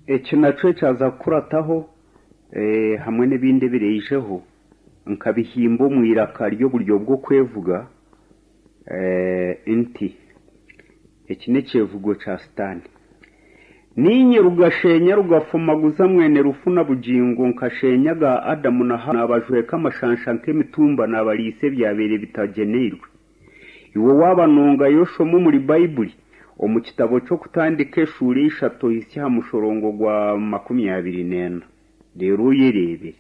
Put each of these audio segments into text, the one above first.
Eki nakyo ekyaza kukurataho hamwe n'ebindi ebiraijeho nkabihimba omu iraka ry'oburyo bw'okwevuga nti, Eki n'ekyevugo kya Sitaane. Niinye rugashenya rugafumaguza mwene rufu na bugingo nkashenya aga Adamu na Haawa naabajweka amashansha nk'emitumba naabariisa ebyabaire bitagyeneirwe. Iwe waaba nongayo oshome omuri Baibuli omu kitabo ky'Okutandika eshuura eishatu ohitsye aha mushorongo gwa 24 reero oyereebere.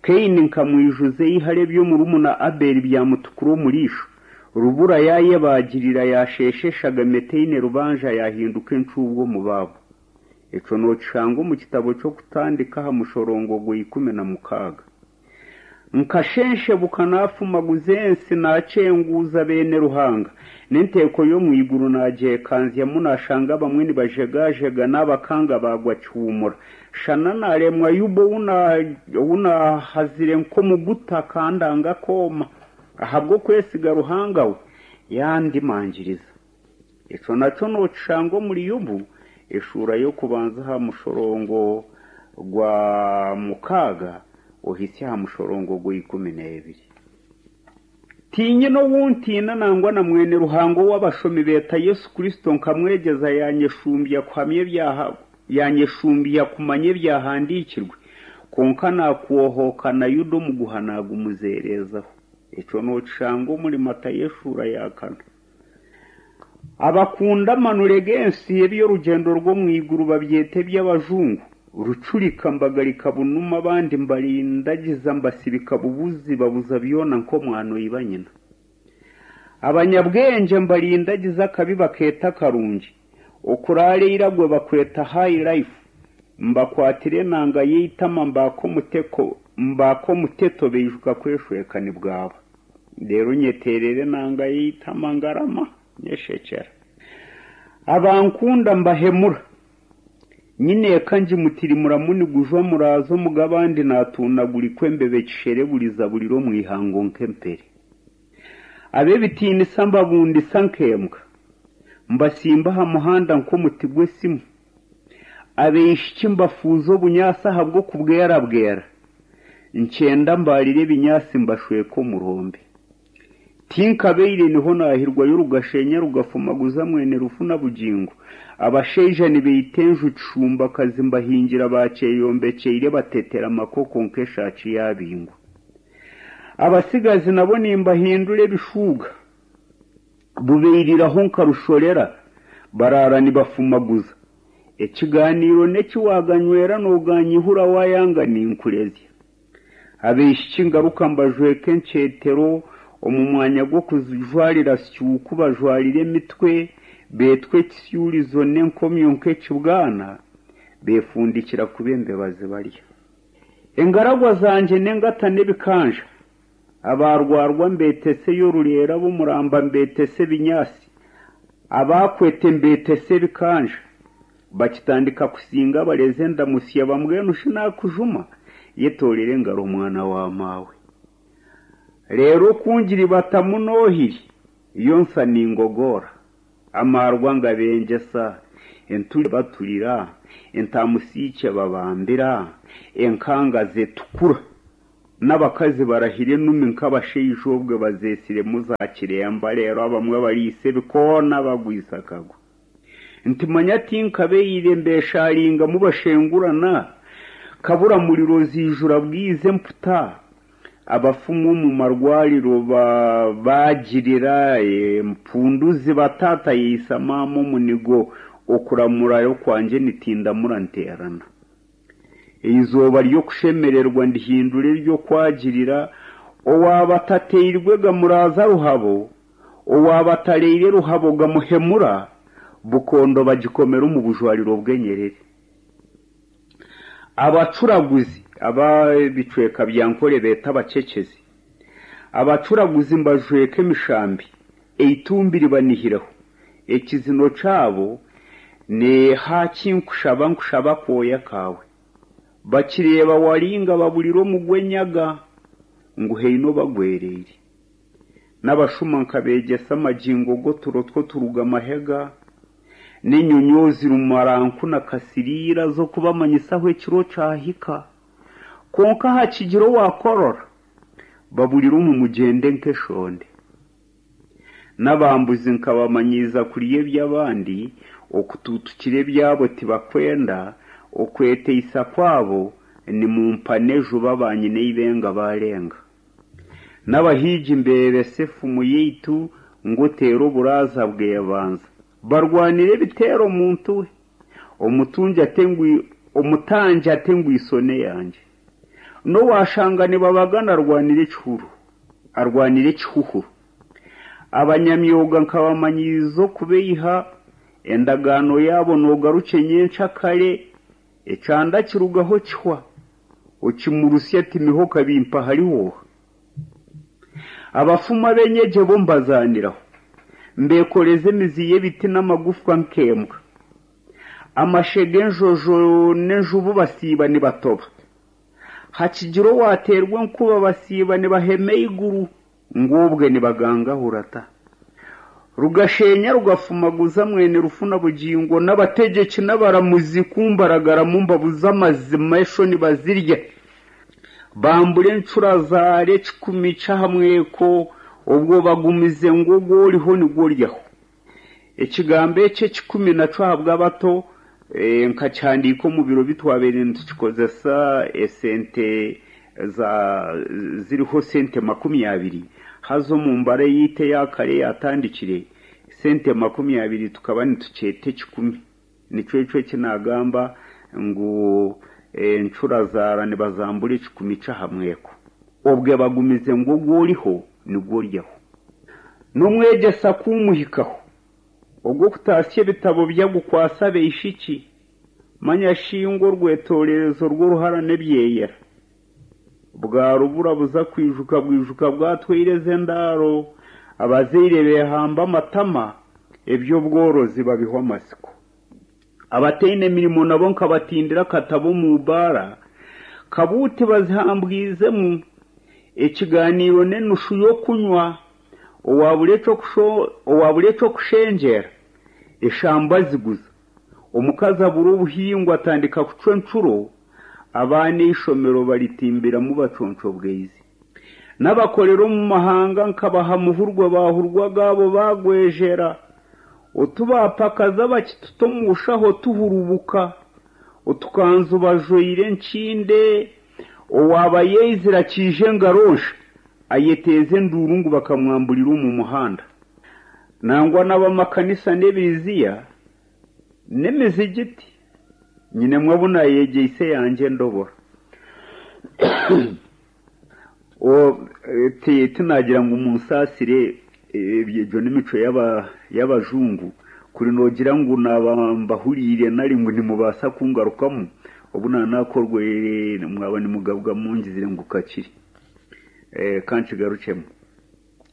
Kaini nkamwijuza eihari eby'omurumuna Abeeli byamutukura omu riisho, rubura yaayebaagirira yaasheesha eshagama etaine rubanja yaahinduka encuubwa omu baabo. Ekyo nookishanga omu kitabo ky'Okutandika aha mushorongo gwa 16. Nkashenshebuka naafumaguza ensi, naakyenguuza beene Ruhanga, n'enteeko y'omu iguru naagyekanzyamu, naashanga abamwe nibajegajega, naabakanga baagwa kihuumura. Shana naaremwa Yubu ou naahazire nk'omuguta akandanga akooma, ahabw'okwesiga Ruhanga we, yaandimangiriza. Ekyo nakyo nookishanga omuri Yobu eshuura y'okubanza aha mushorongo gwa mukaaga ohitsye aha mushorongo gwa 12. Tiinyine ou ntiina nangwa na mwene Ruhanga ou abashomi beeta Yesu Kristo nkamwegyeza yaanyeshumbya kuhamya yaanyeshumbya kumanya ebyahandiikirwe, kwonka naakwohoka na Yuda omuguha naagumuzeereezaho. Ekyo nookishanga omuri Matayo eshuura ya kana. Abakunda amanure g'ensi eby'orugyendo rw'omu iguru babyeta eby'abajungu. Rucurika mbagarika bunuma abandi mbarindagiza mbasibika bubuzi babuza byona nk'omwana oiba nyina. Abanyabwengye mbarindagiza akabi bakeeta akarungi, okuraara eiragwe bakweta high life, mbakwatira enanga y'eitama mbaaka omuteto baijuka kweshweka nibwaba. Reero nyeteerera enanga y'eitama ngarama, nyeshekyera. Abankunda mbahemura. Nyine eka ngimutirimuramu nigujwa muraaza omu g'abandi naatuunagurikwa embeba ekishereburiza burira omu ihango nk'empere. Ab'ebitiinisa mbabundisa nk'embwa, mbatsimba aha muhanda nk'omuti gw'esimu. Abaishiki mbafuuza obunyaatsi ahabw'okubwerabwera, nkyenda mbaarire ebinyaatsi mbashweke omurombe. Tinkabaire niho naahirwayo rugashenya rugafumaguza mwene rufu na bugingo. Abashaija nibaita enju kishumbakazi mbahingira baakyeyombekyeire batetera amakoko nk'eshaaki yaabingwa. Abatsigazi nabo nimbahindura ebishuuga. Bubairiraho nka rushorera, baraara nibafumaguza. Ekigaaniiro n'eki waaganywera nooganyihura waayanga ninkurezya. Abaishiki ngaruka mbajweka enkyetero, omu mwanya gw'okujwarira syuku bajwarire emitwe, beetwa ekisyurizo n'enkomyo nk'ekibwana, beefundikira kuba embeba zibarya. Engaragwa zangye n'engata n'ebikanja. Abaarwarwa mbeetese ey'orureera ab'omuramba mbeetese ebinyaatsi, abaakwete mbeetese ebikanja. Bakitandika kusinga abarezi endamutsya bambwenu shi naakujuma? Yetoorere engaro mwana wa maawe. Reero ku ngiribatamu n'ohiri, yo nsa ningogoora. Amaarwa ngabengyesa, enturi baturira, entaamusiikye babambira, enkanga zetukura. N'abakazi barahira enumi nk'abashaija obwe bazeetsiremu za kiremba reero abamwe bariisa ebikoona bagwisa akagwe. Nti manya tinkabaire mbeshaaringa mubashengurana, kabura muriro ziijura bwiza emputa, abafumu omu marwariro baagirira empundu ziba taata yaitsa maama omunigo okuramura okwangye nitindamura nteerana. Eizooba ry'okushemererwa ndihindura ery'okwagirira, owaaba atateirwe gamuraaza ruhabo, owaaba atareire ruhabo gamuhemura, bukondo bagikomera omu bujwariro bw'enyerere. Abacuraguzi, ab'ebicweka bya Nkore beeta abacekyezi, abacuraguzi mbajweka emishambi, eitumbi ribanihireho, Ekizino kyabo ni Haaki nkushaba nkushaba akooya kaawe. Bakireeba waringa baburira omugwenyaga ngu haine obagwereire. N'abashuma nkabeegyesa amagingo g'oturo tw'oturuga mahega. N'enyonyoozi Rumaranku na Kasiriira z'okubamanyisa ahu ekiro kyahika. Kwonka hakigira owaakorora, baburira omu mugyende nk'eshonde. N'abambuzi nkabamanyiiza kurya eby'abandi, okutuutukira ebyabo tibakwenda, okweteisa kwabo ni mumpane juba baanyina eibenga baarenga. N'abahiigi mbeebesa efumu yaitu ngu oteera oburaaza bwebanza. Barwanire ebiteero muntu we. Omutungi ate ngu omutangi ate ngu isone yangye. N'owaashanga nibabagana arwanire ekihuru arwanire ekihuhuru. Abanyamyoga nkabamanyiiza okubeiha, endagaano yaabo noogarukye nyenkyakare, ekyanda kirugaho kihwa, okimurusya ati miho kabimpa hariho oha? Abafumu ab'enyegye bo mbazaaniraho, mbeekoreza emizi y'ebiti n'amagufwa nk'embwa. Amashe g'enjojo n'enjubu basiiba nibatoba. Hakigira owaateerwa enkuba basiiba nibahema eiguru ngu obwe nibagangahura ta. Rugashenya rugafumaguza mwene rufu na bugingo n'abategyeki n'abaramuzi ku mbaragaramu mbabuza amazima eshoni bazirya. Bambura encura zaara ekikumi ky'aha mweko obwo bagumize ngu ogu oriho nigwo oryaho. Ekigambo eki ekikumi nakyo ahabw'abato nkakihandiika omu biro bi twabaire nitukikozesa esente za ziriho sente 20 haza omu mbara eyaitu eya kare eyaatandikire sente 20 tukaba nitukyeta ekikumi. Nikyo ekyo eki naagamba ngu encura zaara nibazambura ekikumi ky'aha mweko. Obwe bagumize ngu ogu oriho nigwo oryaho. N'omwegyesa ku umuhikaho, ogw'okutaasya ebitabo bye agukwatsa abaishiki, manya shi ngu orwetoorerezo rw'oruhara n'ebyeyera. Bwarubura buza kwijuka bwijuka bwatwaire ez'endaaro, abazaire beehamba amatama, eby'obworozi babihwa amatsiko. Abataine mirimo nabo nkabatindira akatabo omu baara, kabuuti bazihambwizemu, ekigaaniiro n'enushu y'okunywa, owabura eky'okushengyera, eshamba aziguza, omukazi abura obuhingwa atandika kucwa encuro, abaana eishomero baritimbiramu baconcobweize. N'abakorera omu mahanga nkabaha muhurwa baahurwa agaabo baagwejera. Otubaapakaza bakituta omu nshaho tuhurubuka. Otukanzu bajwaire enkinde, owaaba yaizire akiija engaro nsha, ayeteeza enduuru ngu bakamwamburira omu muhanda. Nangwa n'ab'amakanisa n'ebiriziya n'emizigiti nyinemu abu naayegyeise eyangye endobora. Tinagira ngu munsaasire egyo n'emicwe y'abajungu, kuri noogira ngu naaba mbahuriire nari ngu nimubaasa kungarukamu, obu naaba naakorweire mwaba nimugabwa mungizire ngu kakiri. Ka nkigarukyemu.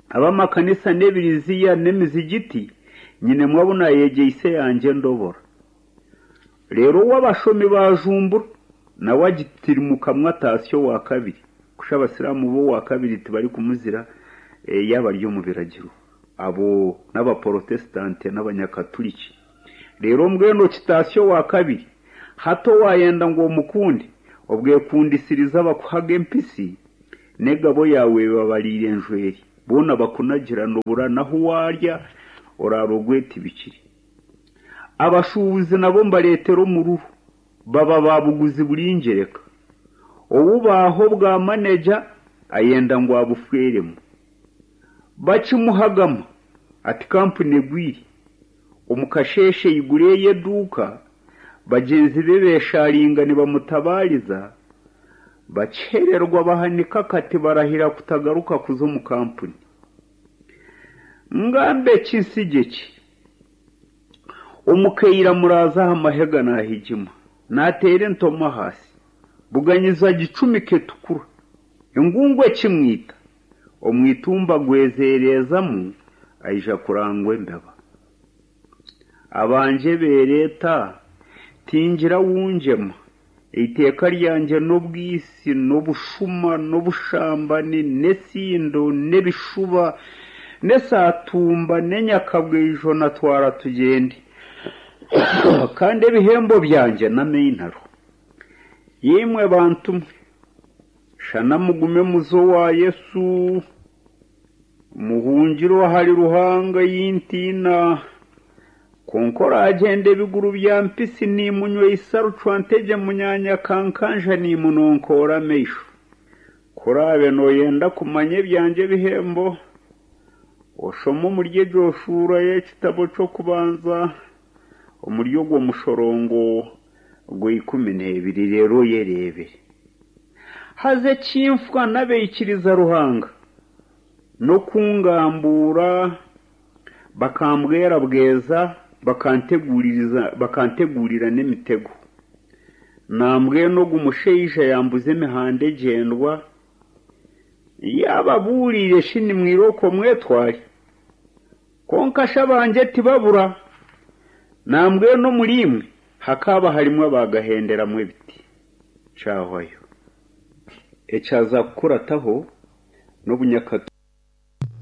Ab'amakanisa n'ebiriziya n'emizigiti nyinemu abu naayegyeise eyangye endobora. Reero ou abashomi baajumbura, nawe agitirimukamu ataasya owa kabiri. Kusha abasiraamu bo owa kabiri tibarikumuzira yaaba ari omu biragiro. Abo n'abaporotesitanti n'abanyakaturiki. Reero mbwenu okitaasya owa kabiri. Hati owaayenda ngu omukunde, obwekundisiriza bakuhaga empitsi, n'egabo yaawe ebabariire enjweri. Boona bakunagira nobura n'ahu waarya oraara ogwetibikire. Abashuubuzi nabo mbareetera omururu, baba ba buguzi buri ngyereka. Ou baaha obwa maneja ayenda ngu abufweremu. Bakimuhagama ati kampuni egwire. Omu kasheeshe aigura eye eduuka, bagyenzi be beeshaaringa nibamutabaariza, bakyererwa bahanika akati barahira kutagaruka kuza omu kampuni. Ngambe ki nsigye ki? Omukaire amuraaza aha mahega naahigima, naateera entomi ahaasi. Buganyizo agicumika etukura. Engungu ekimwita, omu itumba agwezeerezamu aija kurangwa embeba. Abangye beereeta, tingira wu ngyema. Eiteeka ryangye n'obwitsi n'obushuma n'obushambani n'esindo n'ebishuba n'esaatumba n'enyakabwaijo na twara tugyende. Kandi ebihembo byangye n'amainaro. Yaimwe bantu mwe, shana mugume muze owa Yesu, muhungire ahari Ruhanga ei ntiina. Kwonka oraagyenda ebiguru bya mpisi niimunyweisa rucwantegye munyaanya kankanja niimunonkoora amaisho. Ku oraabe nooyenda kumanya ebyangye ebihembo, oshome omuri egyo shuura y'ekitabo ky'okubanza omuri ogwo mushorongo gw'eikumi n'ebiri reero oyereebere. Haza ekinfwa n'abaikiriza Ruhanga n'okungambuura bakambwerabweza bakanteguurira n'emitego. Nambwenu ogu mushaija yambuza emihanda egyendwa, yaababuuriire shi nimwirooko mwetware. Kwonka shi abangye tibabura, nambwenu omuriimwe hakaaba harimu abaagahenderamu ebiti. Kyahwayo. Ekyaza kukurataho n'obunyakatugara.